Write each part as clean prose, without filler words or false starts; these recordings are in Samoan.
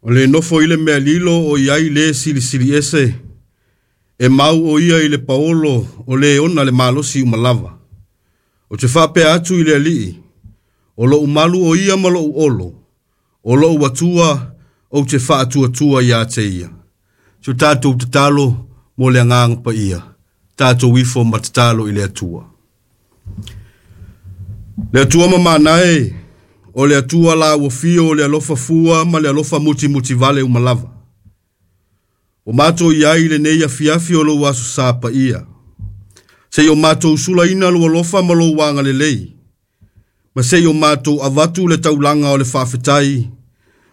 O le nofo i le mea lilo o i ai le silisili ese, e mau o ia i le paolo o le ona le malosi uma lava. Ou te faapea atu i le Alii, o lou malu o ia ma lou olo, o lou Atua ou te faatuatua ia te ia. Si o tatou tatalo mo le agaga paia, tatou ifo ma tatalo i le Atua. Le Atua mamana e, o le Atua la ua fio o le alofa fua ma le alofa mutimutivale uma lava. O matou i ai i lenei afiafi o lou aso sa paia. Seia o matou sulaina lou alofa ma lou agalelei. Ma seia o matou avatu le taulaga o le faafetai,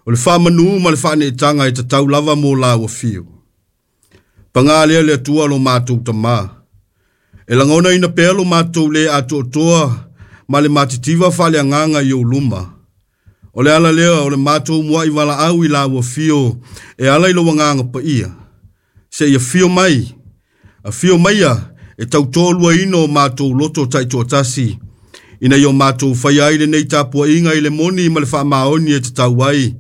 o le faamanu ma le faaneetaga e tatau lava mo la ua fio. Paga lea le Atua lo matou tamā. E lagonaina pea lo matou le atoatoa ma le matitiva faaleagaga i ou luma. O le ala lea o le matou muai valaau i la ua fio e ala i lou agaga paia. Seia fio mai, afio maia e tautoaluaina o matou loto taitoatasi, ina ia o matou faia ai lenei tapuaiga i le moni ma le faamaoni e tatau ai,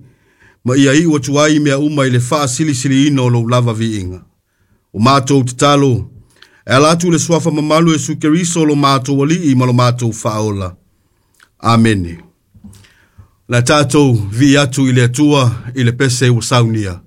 ma ia iu atu ai mea uma i le faasilisiliina o lou lava viiga. O matou tatalo, e ala atu le suafa mamalu e Iesu Keriso lo matou Alii ma lo matou Faaola. Amene. La tatou vii atu i le Atua i le pese ua saunia.